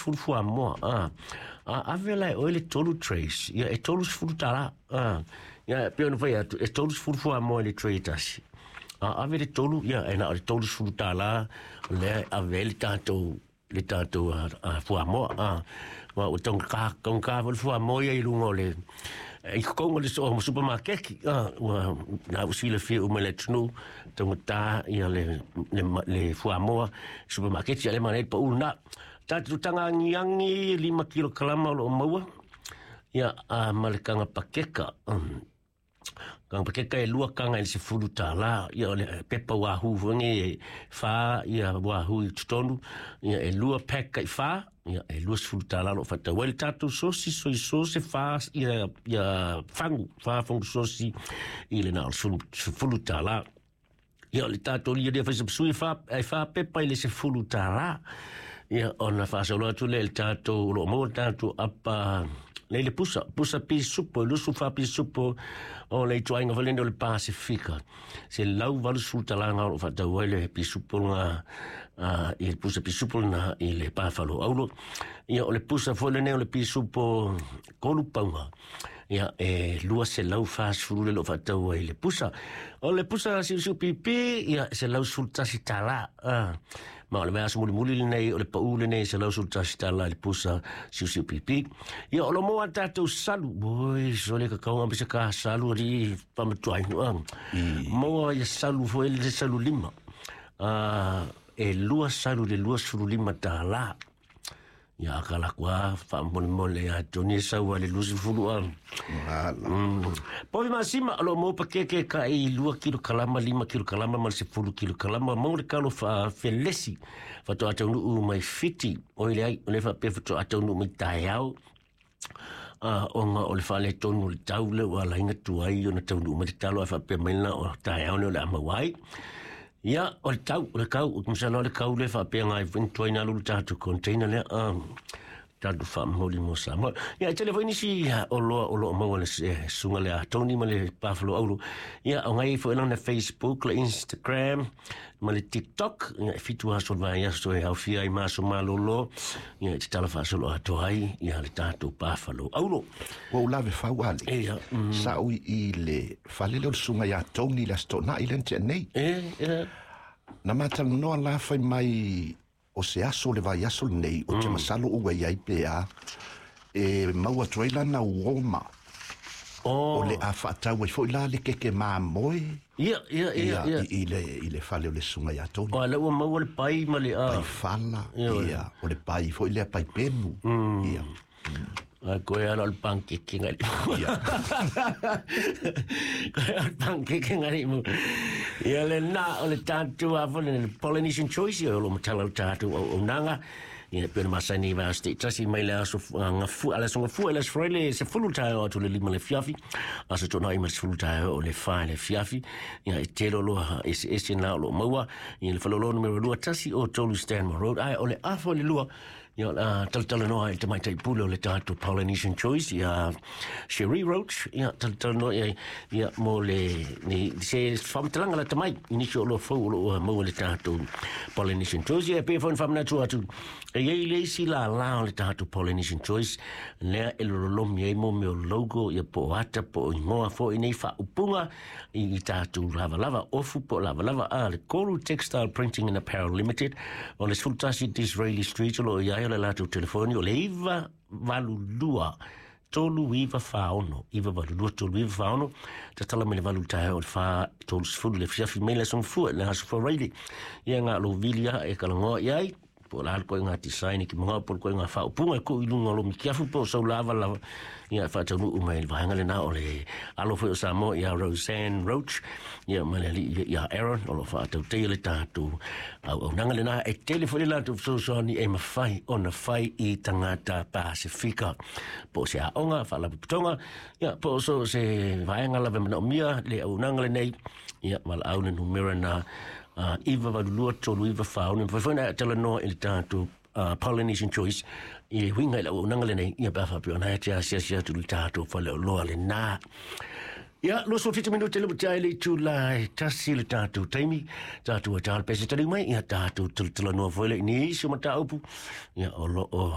30 fuamoa. A ave la e oe le 3 trays, ia e $30. Ia e pei ona fai atu, e 30 fuamoa i le tray e tasi. A ave le 3, ia e na o le $30 lea e ave ai le tatou fuamoa. Ua ua taugata foi le fuamoa ia i luga o le i totonu o le supermarket. Ua na ua silafia uma e le atunuu, taugata ia le fuamoa supermarket, ia le manaia le pau lena. Tatou taga agiagi 5 kilokalama o lo o maua ia ma le kaga pakeka. Kaga pakeka e 2 kaga i le $10. Ia o le pepa wahoo foi nei e 4 ia wahoo i totonu. Ia e 2 pack kai 4. Ia e $20 lo faatau ai le tatou sosi soy sauce 4 ia fagu 4 fagu sosi i le na o le $10. Ia o le tatou lia lia faisa sui fa ai fa pepa i le $10. Ia ona faasolo atu lea i le tatou o lo o maua le tatou apa le le pusa pusa pisupo lusu fa pisupo o le ituaiga foi lenei o le Pasifika $180 o lo o faatau ai le pisupo lena i le pusa pisupo lena i le pafalo aulo. Ia o le pusa foi lenei o le pisupo 3 pauga, ia e 240 le lo faatau ai le pusa. O le pusa siusiu pipi, ia $111. Ma o le vaiaso mulimuli lenei o le pau lenei $111 i le pusa siusiu pipi. Ia o lo maua tatou salu. Oi, so le kakau ma se ka salu ali pamatuai. Maua ia salu foi le salu 5. E 2 salu le $25. Ia akala kua faamolemole ia Tony sau le 20 a. Povi masima o lo mo pakeke ka i 2 kilo kalama, 5 kilo kalama ma le 10 kilo kalama mo le kalo fa felesi faatoa taunuu mai Fiti o ile ai o le faapea faatoa taunuu mai taeao ona o le faaletonu o le tau le ua alaina tuai ona taunuu mai le talo ae faapea mai lena o taeao nei o le a maua ai. Ia, o le tau, o le kau, masalo o le kau le faapea ngai tuai na lulu tatou container lea, tatou faamoli mo Samoa. Ia, e tele foi nisi o loa o lo o maua le susuga le a Tony ma le Buffalo Auro. Ia, o ngai foi lana Facebook, le Instagram, ma le TikTok. Ia, e 7 aso o le vaiaso e aofia ai ma aso malolo. Ia, e te tala faasolo atoa ai, ia, le tatou Buffalo Auro. Ua ou lave fau ale. Ia, Sa ou i le fale lea o le susuga ia Tony le Aso Toonai lea na tea nei. E, e, Na matalanoa la fai mai o se aso le vaiaso lenei o te masalo ua i ai pe a e maua atu ai lana uoma o le a faatau ai foi la le keke mamoe. Ia, ia, ia, ia. I le fale o le susuga ia Tony. O, le ua maua le pai ma le Pai fala, ia, o le pai foi lea pai pemu. Ia. Ai, koe ala o le pancake ngai. Koe ala o le pancake ngai mo. Ia le na o le tatou a foi le Polynesian Choice ia o lo matala o tatou au nanga. Ia pe na masani va ste tasi mai le aso ngafu ala so ngafu le Friday se fulu tae o atu le 5 le fiafi. Aso tona i ma se 10 tae o le 4 le fiafi. Ia e telo loa ese ese na o lo maua. Ia le falolo numero 2 1 o 3 Stanmore Road. Ai o le afo le 2. Ia talatala noa i te maitai pule o le tatou Polynesian Choice ia Cherie Roach, ia talatala noa ia, ia mo le ni se whamatalanga la tamai i nisi o loa fau o lo maua le tatou Polynesian Choice. Ia pe fo whamanatu atu e iai le isi la la o le tatou Polynesian Choice lea e lololomi ai mo mea o logo ia po o ata po o ingoa foi nei faaupuga i tatou lavalava ofu po o lavalava a le Koru Textile Printing and Apparel Limited o le 11 Disraeli Street o lo o iai o le latou telefoni o le 982 3946, 982 3946. Tatala mai le 8 taeao o le 4:30 le fiafi mai le aso gafua le aso Friday. Ia ngā lo vili a e kalangoa i ai po o le a le koe ngā design ki mga po o le koe ngā faaupuga e kuu i luga o lo mikiafu po o sau lava lava ia e faataunuu mai le vaega lenā o le alo foi o Samoa ia Roseanne Roach ia ma le alii ia Aaron o lo o faatautaia le tatou auaunaga lenā e tele foi le latou fesoasoani e mafai ona fai i tagata Pasifika po o se aoga faalapotopotoga ia po o so se vaega lava e manaomia le auaunaga lenei ia valaau le numera na 982 3946. Mafai foi ona e talanoa i le tatou Polynesian Choice i le huiga i le auaunaga lenei ia pe a faapea ona e te asiasi atu i le tatou faleoloa lenā. Ia, 27 minute le ua le itula e 1 le tatou taimi, tatou e tala pese taliu mai, ia tatou talatalanoa foi le i nisi o mataupu, ia o lo o